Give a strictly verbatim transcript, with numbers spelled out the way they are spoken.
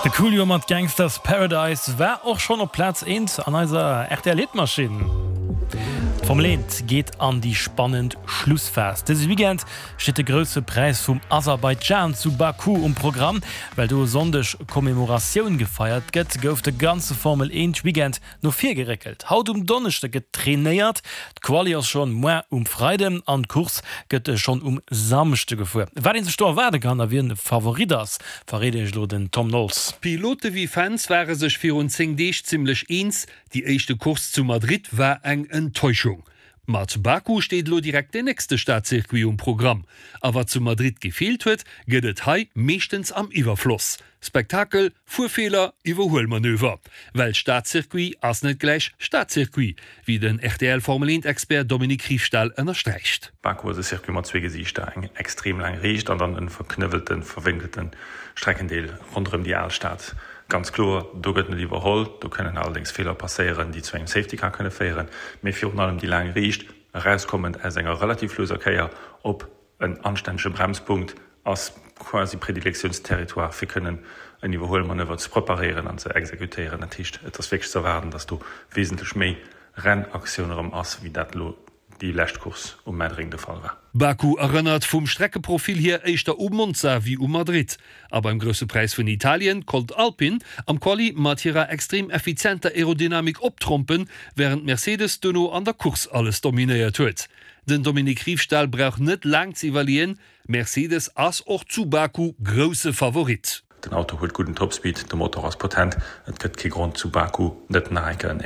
De Coolio mat Gangsta's Paradise war och schonn op Plaz eent an eiser R T L-Hitmaschinn. D'Formel eent geet an déi spannend Schlussphas. Dëse Weekend steet de Grousse Präis vum Aserbaidschan zu Baku um Programm. Well do e Sonndeg Commemoratioun gefeiert gëtt, gouf de ganze Formel eent Weekend no vir geréckelt. Haut um Donneschde gëtt trainéiert, d'Quali ass schonn muer um Freiden an d'Course gëtt schonn um Samschde gefuer. Wat een sech do erwaarde kann a wien Favorit ass, verréit iech elo den Tom Knowles. Pilote wéi Fans ware sech virun zéng Deeg zimmlech eens, déi éischte Course zu Madrid war eng Enttäuschung. Mat Baku steet lo direkt den nächste Stadcircuit um Programm. A wat zu Madrid gefeelt huet, gëtt et hei meeschtens am Iwwerfloss. Spektakel, Fuerfeeler, Iwwerhuelmanöver. Well Stadcircuit ass net gläich Stadcircuit, wéi den R T L Formel eent Expert Dominique Riefstahl ënnersträicht. Baku ass e Circuit mat zwee Gesiichter, eng extrem laang Riicht an dann e verknëwwelte, verwénkelte Streckendeel ronderëm déi Alstad. Ganz kloer, do gëtt net iwwerholl, do kënnen allerdéngs Feeler passéieren, déi zu engem Safety Car kënne féieren, mee virun allem déi laang Riicht, erauskommend aus enger relativ lueser Kéier op en anstännege Bremspunkt, ass quasi Predilektionsterritoire fir kënnen en Iwwerhuelmanöver ze preparéieren an ze exekutéieren. Dat heescht, et ass wierklech ze erwaarden, dass do wesentlech méi Rennaktioun erëm ass, wéi dat elo déi lescht Course um Madring de Fall war. Baku erënnert vum Streckeprofil hier éischter u Monza wéi u Madrid. A beim Grousse Präis vun Italien konnt Alpine am Quali mat hirer extrem effizienter Aerodynamik optrompen, wärend Mercedes duerno an der Course alles dominéiert huet. Den Dominique Riefstahl brauch net laang ze iwwerleeën, Mercedes ass och zu Baku grousse Favorit. Den Auto huet gudden Topspeed, de Motor ass potent, et gëtt kee Grond zu Baku net nach eng Kéier en